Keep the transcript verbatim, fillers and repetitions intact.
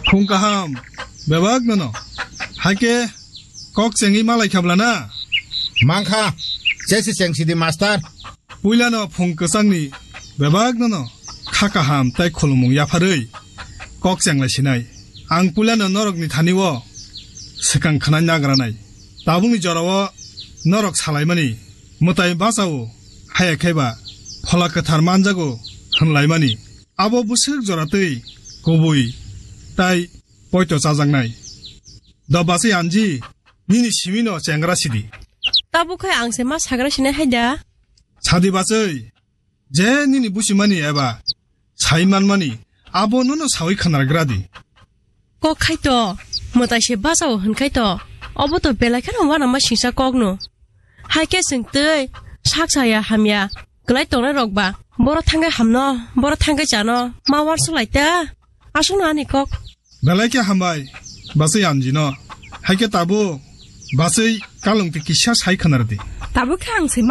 Phung kaham, bebak nono. Haike kok chengwi malai khabla na? Mangkha, chesi chengsidi master. Puilano phung kwchangni bebak nono kha kaham tai khulumung yapharwi kok chenglai sinai. Ang puilano norokni thani o swkang khwnai nagranai. Tabukni jorao norok salaimani mwtai bachao, haya kheba phola kwthar manjago hwnlaimani. Abo bwswk joratwi kubui tai poito chajaknai. Do bachwi anji, nini simino chengra sidi. Tabuk khai ang se ma sagra sinai hai da? Sadi bachwi, je nini buchimani eba sai manmani, abo nono sawi khanargra di. Kok khai to, mwtai se bachao hwn khai to, obo to belai kheno uanama singsa kokno. Hai khe chwng twi sak saya hamya kwlai tongnai rok ba, boro thangwi hamno, boro thangwi chano, ma uansuk lai ta? Aswkno ani kok. Belai khe hambai, bachwi anjino. Hai khe tabuk, bachwi kalung twi kisa sai khwnar di. Tabuk khe ang se ma